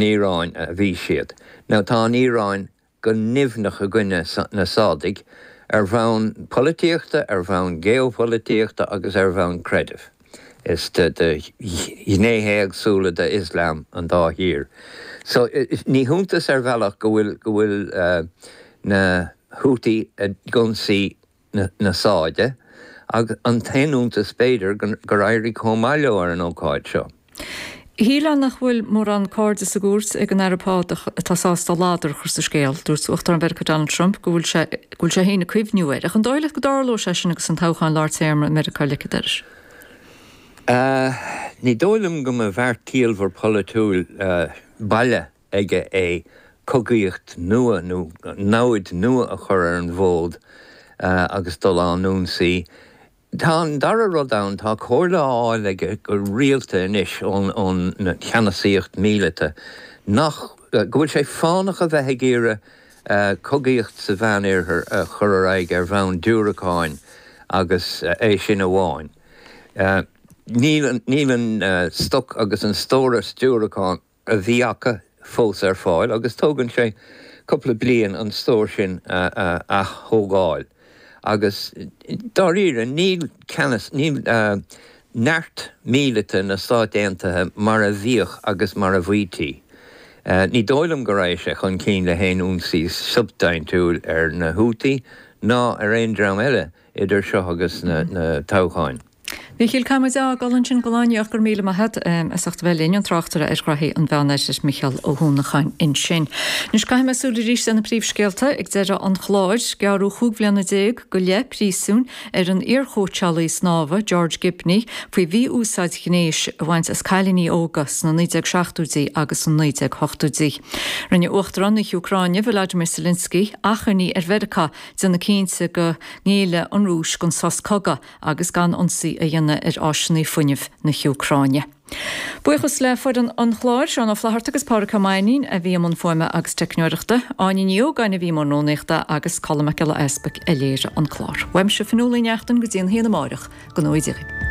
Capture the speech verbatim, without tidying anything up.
Iaráin a bhí siad. Now tá an Iaráin go nimhneach i gcoinne na Sádaigh ar bhonn polaitíochta, ar bhonn geopholaitíochta agus ar bhonn creidimh. Is de ghnéithe éagsúla de Islam an dá thír. So ní hiontas ar bhealach go bhfuil go bhfuil na Houthi ag ionsaí na Sáide, ach an t-aon iontas b'fhéidir gur éirigh chomh maith leo ar an ócáid seo. Shílfeá nach bhfuil mórán cairde sa gcúirt ag an Aire Pá atá sásta ladar a chur sa scéal. Dúirt Uachtarán Mheiriceá Donald Trump go bhfuil sé go bhfuil sé féin ag cuimhniú air. Ach an dóigh leat go dtarlóidh sé sin agus an toghchán lár téarma i Meiriceá ligthe air? Ní dóigh liom go mba bheart ciallmhar polaitiúil baile aige é cogaíocht nua nó namhaid nua a chur ar an bhfód agus dul á n-ionsaí. Tá an dara rud ann, tá comhairle á fháil aige go rialta anois ón ón cheannasaíocht míleata nach go bhfuil sé fánach a bheith ag iarraidh cogaíocht sa Mheánoirthear a chur ar aghaidh ar bhonn diúracáin agus é sin amháin. Níl níl an stoc agus an stóras diúracán a bhí acu fós ar fáil agus tógann sé cúpla bliain an stór sin a ath-thógáil. Agus dáiríre níl ceannas, níl neart míleata na Stát Aontaithe mar a bhíodh agus mar a bhítí. Ní dóigh liom go raghaidh sé chun cinn le haon ionsaí substaintiúil ar na Houthi ná ar aon dream eile idir seo agus na toghcháin. Mhichíl, caithfidh muid a fhágáil ansin don lá inniu ach go raibh míle maith agat as ucht a bheith linn, an tráchtaire ar ghraithí an Mheánoirthir Micheál Ó hUanacháin ansin. Anois caithfidh mé súil arís ar na príomhscéalta ag deireadh an chláir. Gearradh chúig bhliana déag go leith príosúin ar an iarchóitseálaí snámha George Gibney faoi mhí-úsáid ghnéis a bhaint as cailíní óga sna naoi déag seachtóidí agus sna naoi déag hochtóidí. Rinne Uachtarán na hÚcráine Volodymyr Zelensky achainí ar Mheiriceá déanamh cinnte go ngéillfidh an Rúis don sos cogaidh agus gan ionsaí a dhéanamh ar áiseanna fuinnimh na hÚcráine. Buíochas le foireann an chláir, Seán Ó Flatharta agus Pádraig Ó Mainnín a bhí i mbun fuaime agus teicneoireachta, Áine Ní Ógáin a bhí i mbun rúnaíochta agus Colm Mac Giolla Easpaig a léirigh an clár. Uaimse Fionnuala Ní Neachtain go dtí an haon amárach go ngnóthaí Dia.